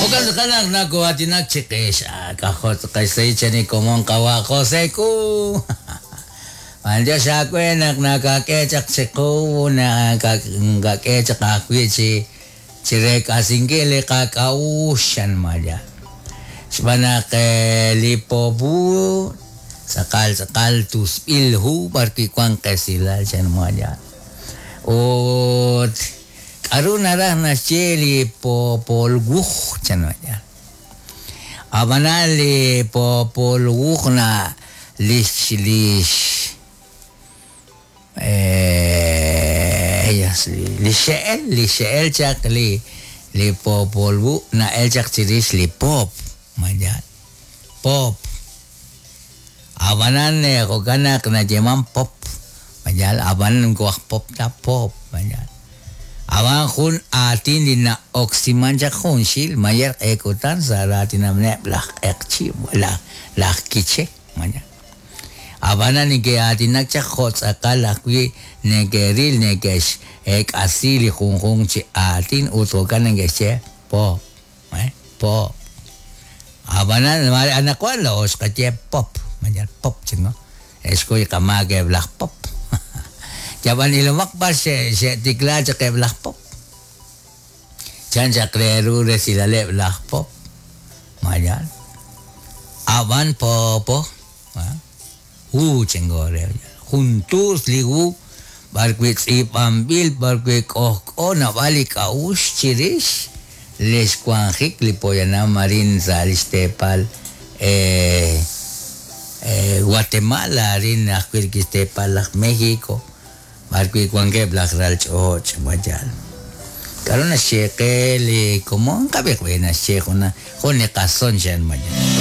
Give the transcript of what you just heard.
Jo'kan tz'aqal naq nakoo'aatinak chiqix. K'ajo' tz'aqal xsahil chan li komon qawa' José Ku. B'anyox aawe naq nakak'e chaq chiqu, nakak'e chaq ajwi' chi chi reek'asinkil li qak'a'uxl chan Maya. Xb'aan naq li Poophu tz'aqal tz'aqal tusb'il hu b'arwi' wank qesilal chan Maya. Ut k'aru naraj naxye li Poopol Wuj chan Maya. Ab'anan li Poopol Wuj na lix lix Li xe'el, li xe'el chaq li li Poopol Wuj na'el chaq chirix li poop, ma yaal? Poop. Ab'anan jo'kan naq nayeeman pop, ma yaal? Ab'an moko aj pop ta, poop, ma yaal? Ab'an jun aatin li na'oksiman chaq junxil mayer q'e kutan sa' raatinameb' laj q'eqchi', laj laj kiche, ma yaal? Ab'anan neke'aatinak chaq jo' tz'aqal ajwi' neke'ril neke'x'eek'asi li junjunq chi aatin ut jo'kan neke'xye pop, pop. Ab'anan mare anaqwan laa'o xqaye pop, ma yal pop chik no, xkuy qamaak eb' laj pop. Yab'an ilomaq b'ar xe'tikla chaq eb' laj pop. Chan chaq re ru resilaleb' laj pop, ma yaal? Ab'an poopo, hu chengo re, jun tuus li hu b'arwi' tz'iib'anb'il b'arwi' k'ojk'o naab'al li k'a'uxl chirix li xwanjik li poyanam arin sa' li xteepal Guatemala arin ajwi' rik'in xteepal laj México. B'arwi' wankeb' laj ral ch'och', wayal. K'aru naxye qe li komon? Qab'iiq b'i naxye jun li qason chan wayal.